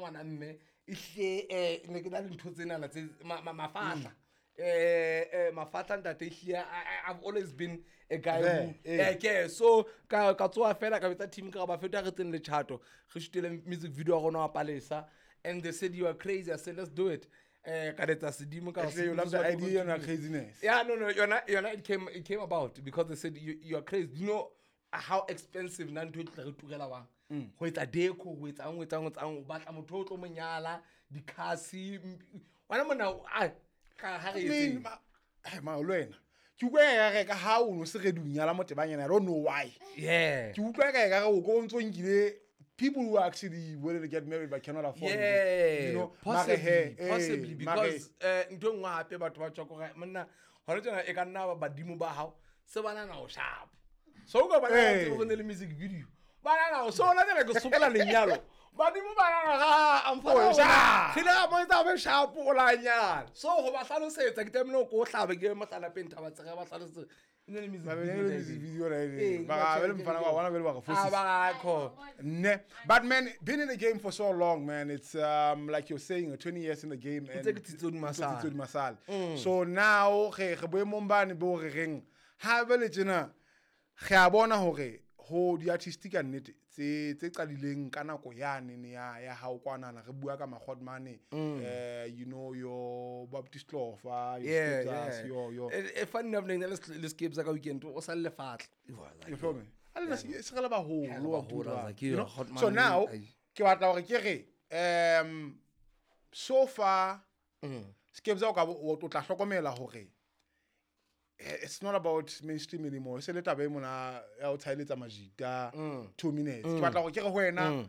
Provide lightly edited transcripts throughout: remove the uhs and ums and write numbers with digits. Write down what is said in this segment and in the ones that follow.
ngwana mme ehlile ne ke na le ntho tsenana tse mafahla. Mafatla ntate ehlile I've always been a guy who so ka tsoa fela ka betsa team ka ba feta re tseng le chato re shootile music video ya rona wa Palesa and they said you are crazy. I said let's do it. Ka letsa sedimo ka you love the idea and craziness. Yeah, no, yona it came about because they said you are crazy. You know how expensive na ntho e tla re turela bang ho etsa deco ho etsa ho etsa ho batla motho o tlo monyala dikhasi wena mona a ka ha re etse ma le wena ke utlwa ya re ka ha o no se re dunyala motebanyana. I don't know why. Yeah, ke utlwa ka re o go ntso nkile people who are actually willing to get married but cannot afford it, you know, possibly because ntho nngwe hape batho ba tswa go monna hore tsena e ka nna ba badimo ba hao se bana na o sharp. So go ba na go ne le music video bana na so ona tsena ke sokola lenyalo badimo bana na ga amfa sharp ke mo etsa be sharp o la nyala. So go ba hlalosetsa ke tlamehile go hlabe ke mohlala peng thaba tsega ba hlalosetsa music video right. But man, been in the game for so long, man. It's like you're saying, 20 years in the game and so now re boemong bane bo re reng ha bele tjena re a bona hore ho di artist ka nnete tse qadileng ka nako yane ne ya hao kwanana re bua ka Magodmane, you know, your Baptist Lofa, your Skepsas, your funny enough le Skepsas ka weekend o sa le fatla. You feel me? A le se re le baholo, you know. So now ke batla hore ke re so far Skepsas o ka o tla hlokomela hore it's not about mainstream anymore. Se le taba e mona ya o tshaeletsa majita 2 minutes. Ke batla go ke re ho wena,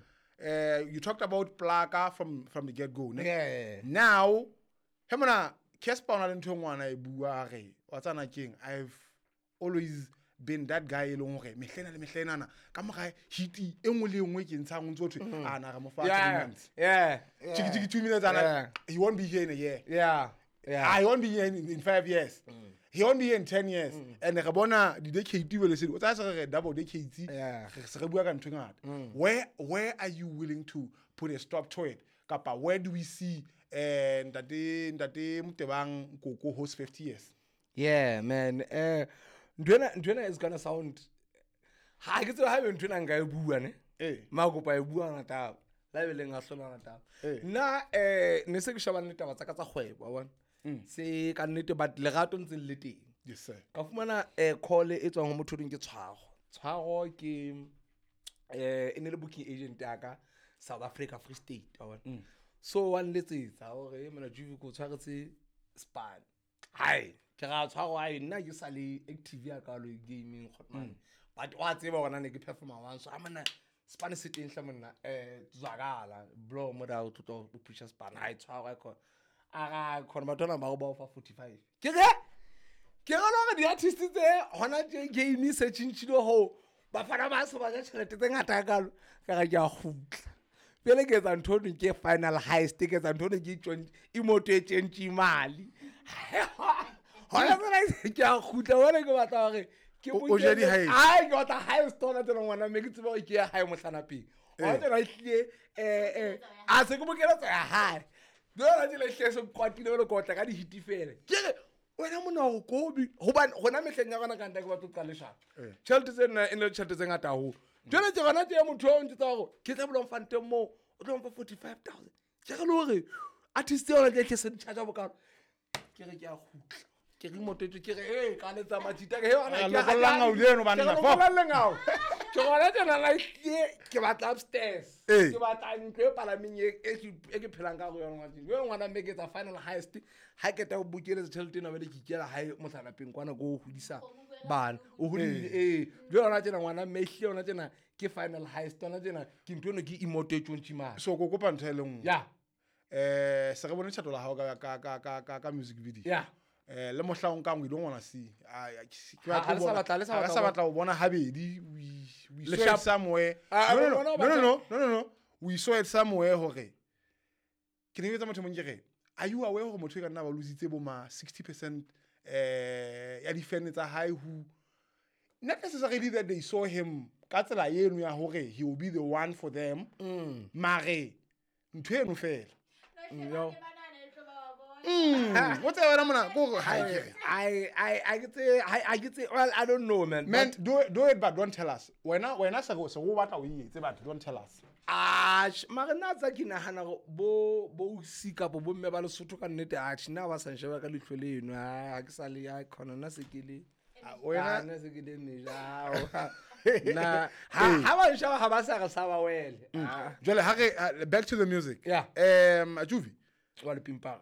you talked about Plaka from the get go, ne? Yeah. Now, he mona Casper ona le ntho ngwana e bua re wa tsana keng, I've always been that guy e leng hore mehlena le mehlenana ka mora hit e nngwe le nngwe ke ntshang ntso thwe a na re mo fa 3 months. Yeah. Chiki 2 minutes and he won't be here in a year. Yeah. Yeah. I won't be here in 5 years. He won't be here in 10 years. And re bona di decade le se o tsa se re double decade. Se re bua ka ntho ngata. Where are you willing to put a stop to it? Kapa where do we see ntate Motebang Koko host 50 years? Yeah, man. Ntwena is going to sound ha ke tsebe ha be ntwena nka e bua ne. Ma kopa e bua ngata. La be leng a hlola ngata. Nna ne se ke shebane le taba tsa ka tsa kgwebo, wa bona. Se ka nnete but lerato ntse le teng. Yes sir. Ka fumana call e tswang ho motho ding ke Tshwaro. Tshwaro ke e ne le booking agent ya ka South Africa Free State, wa bona. So wa nletsetsa hore mona Juve ko tshwaretse span. Hai, ke ra Tshwaro ai nna ke sa le active ya ka lo gaming khotman. But wa tseba hore ne ke performer one so amana span se teng hla monna tswakala bro mo da o tlo o pusha span hai Tshwaro e khona. Ara khona batho ba ba fa 45. Ke re ke re lo di artist tse hona tje game se tshintshile ho ba fana ba se ba ja tjhelete tse ngata ka lo ka ga ke a kgutla. Pele ke etsa ntho e ke final heist ke etsa ntho e ke tjontše imoto e tjentše mali. Hona tsena ke a kgutla hore ke batla hore ke o je di heist. Ai ke batla heist hona tsena ngwana mme ke tsebe hore ke ya hae mohlana pele. Hona tsena ehlile a se ke bokeletsa ya hae. Jwale tsela ehlile se kwatile le kotla ka di hit fela. Ke re wena mona o kobi hobane hona mehleng ya rona ka nta ke batho qale shapa. Tjhelete tsena e ne tjhelete tse ngata haholo. Jwale ke rona tje motho o ntse hore ke tla bolong fanteng mo o tlo mfa 45,000. Ke re le hore artist yona ke se charge bokalo. Ke re ke a kgutla. Ke re moto ke re ka letsa majita ke yona ke lokollang o leno banna fo. Ke rona tsena la ke batla upstairs. Ke batla ntlo e palameng e ke phelang ka go yona ngwana. Jwale ngwana mme ke etsa final heist ha ke ta o bokeletsa tjhelete ena bele ke ikela hae mohlala peng kwana go hodisa bana. O hodile jwale yona tsena ngwana mme ehlile yona tsena ke final heist yona tsena ke ntho eno ke imoto e tjontši mane. So go kopa ntho e le nngwe. Yeah. Se re bone tjhato la hao ka music video. Yeah. Le mohla o nkang we don't wanna see. Ke sa batla ho bona habedi. We saw it somewhere. No. We saw it somewhere hore. Ke ne ke tsa motho mong ke re, are you aware hore motho e ka nna ba lositse bo ma 60% ya di-fan tsa hae who not necessarily that they saw him ka tsela eno ya hore he will be the one for them. Mare Ntho eno fela. No. What's that mona ko ha ke I well, I don't know, man. Man, do it but don't tell us. Wena se go batla o etse but don't tell us. Ah, mara nna tsa ke nahana bo bo sika bo mme ba Lesotho ka nnete a tjhe ba sa nsheba ka leihlo leno ha ke sa le ya khona nna se ke le wena nna se ke le meja na ha ba nsheba ha ba sa re sa ba wele. Jwale ha re back to the music. Yeah. Juvi wa le pimpara.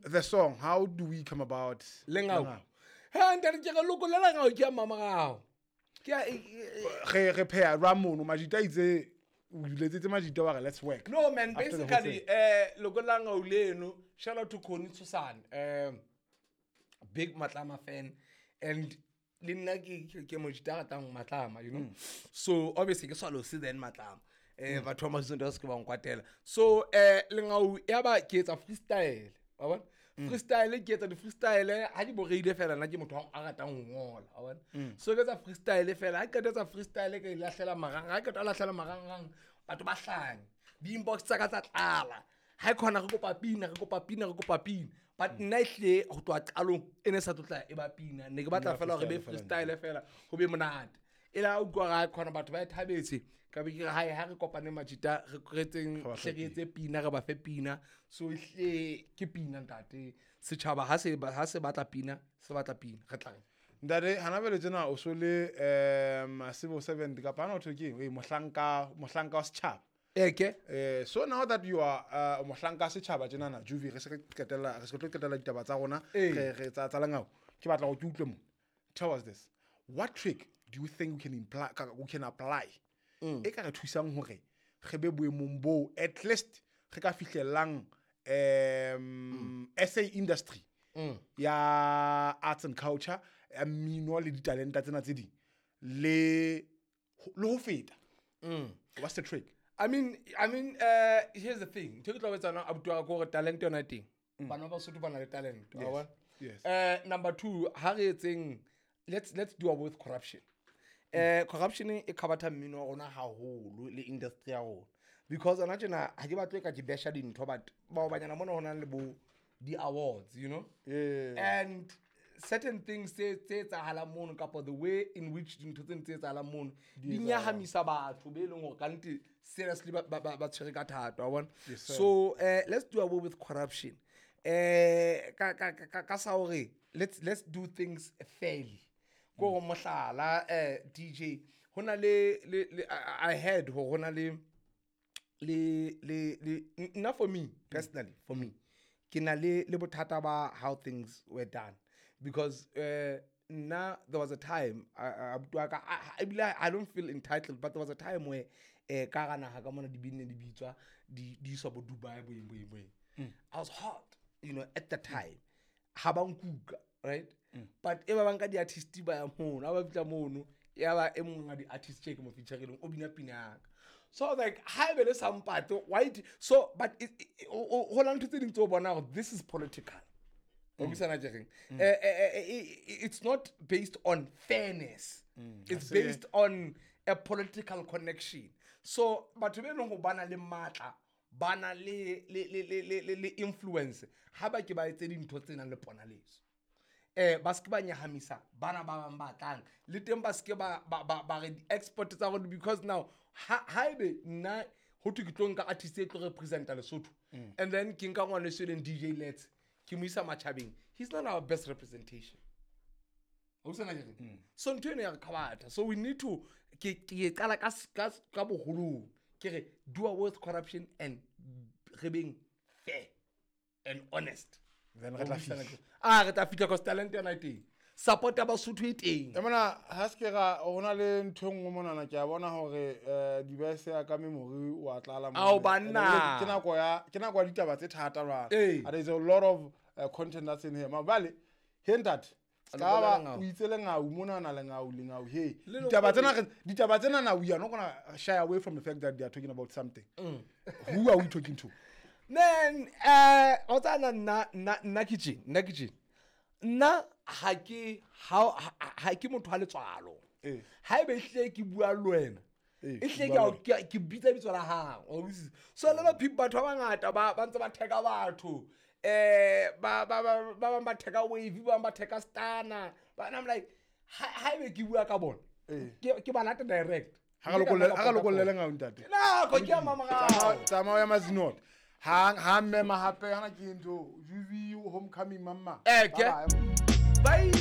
The song, how do we come about Lengau? Ha ntate ke re lokolela ngau ke mama gao. Ke re pheya ra mono majita itse o letsetse majita wa re let's work. No man, basically lokolela ngau leno, shout out to Connie Susan, big Matlama fan, and le nna ke mojita ratang Matlama, you know. So obviously ke swalo see then Matlama. Batho ba mazonto ba se ke ba nkwatela. So lengau ya ba ke etsa freestyle. Freestyle ke etsa di freestyle ha di boreile fela nna ke motho a ratang ho ngola wa bona. So ke etsa freestyle fela ha ke etsa freestyle ke lahlela marang ha ke lahlela marang batho ba hlanya di inbox tsa ka tsa tlala ha e khona re kopa pina re kopa pina re kopa pina but nna ehle ho tloha qalong e ne sa tlotla e ba pina ne ke batla fela hore be freestyle fela ho be monate e la utlwa ga khona batho ba thabetse ka be ke re ha re kopane majita re retseng hle re etse pina re ba fe pina. So hle ke pina ntate setjhaba ha se batla pina se batla pina re tla ntate hana bele tsena o so le civil servant kapa na o thwe ke mohlanka wa setjhaba eke. So now that you are mohlanka setjhaba tjenana Juvi re se re qetella re se tlo qetella ditaba tsa rona re tsa Lengau ke batla go ke utlwe mo. Tell us this, what trick do you think we can apply e ka re thusang hore re be boemong bo at least re ka fihlelang SA industry ya arts and culture ya mmino le ditalenta tsena tse ding le ho feta? What's the trick? I mean here's the thing. Ntho ke tlo betsana abuti wa ka hore talent yona teng. Bana ba Basotho ba na le talent. Yes. Number 2, ha re etseng let's do away with corruption. Corruption e khabatha mmino wa rona haholo le industry ya rona because ana tjena ha ke batle ka ke besha dintho but bao banyana mona hona le bo di awards, you know. Yeah. And certain things tse etsahalang mono kapa the way in which dintho tse ntse etsahalang mono di nyahamisa batho be leng hore kannete seriously ba tshwere ka thata wa bona. So let's do away with corruption. Ka sa hore let's do things fairly. Ko mohlala DJ hona le I heard hore hona le nna for me personally, for me ke na le bothata ba how things were done because now there was a time I don't feel entitled, but there was a time where ka ga naga ka mona di binne di bitswa di iswa bo Dubai bo eng. I was hot, you know, at the time ha ba nkuka, right? But e ba banka di artist ba ya mono, ba fitla mono, ya ba e mong wa di artist che ke mo featureileng o bina pina ya ka. So I was like, ha ebe le sampate, why so but ho la ntho tse ding tse o bona hore this is political. It's not based on fairness. It's based on a political connection. So batho be leng ho bana le matla, bana le influence, ha ba ke ba etse dintho tse nang le ponaletso. Ba se ke ba nyahamisa bana ba bang ba tlang le teng ba se ke ba re export tsa rona because now ha ebe nna ho thwe ke tlo nka artist e tlo representa Lesotho and then ke nka ngwana e leng DJ Let's ke mo isa matjhabeng, he's not our best representation. So ntho eno ya re kgabatha. So we need to ke qala ka boholong ke re do away with corruption and re beng fair and honest. Then re tla fihla. Re tla fihla cause talent yona e teng. Support ya Basotho e teng. E mona ha se ke ra hona le ntho e nngwe monana ke a bona hore device ya ka memory wa tlala mona. Ao banna. Ke nako ya ditaba tse thata jwale. There is a lot of content that's in here. Mabale, he ntate. Ska o itse lengau monana lengau he. Ditaba tsena na we are not gonna shy away from the fact that they are talking about something. Who are we talking to? Man, o tsana nna kitchen. Nna ha ke motho wa letswalo. Ha ebe hle ke bua le wena. E hlile ke bitsa bitso la hao, wa utlwisisa? So a lot of people, batho ba bangata ba ntse ba theka batho, ba ba ba ba bang ba theka Wavy, ba bang ba theka Stana, but I'm like, ha ebe ke bua ka bona, ke ba lata direct. Ha re lokollele ngau, ntate. Nako ke ya mamorao. Tsamao ya Mazinot. Ha mmema hape hana ke ntho Juvi homecoming mamma. Bye. Bye.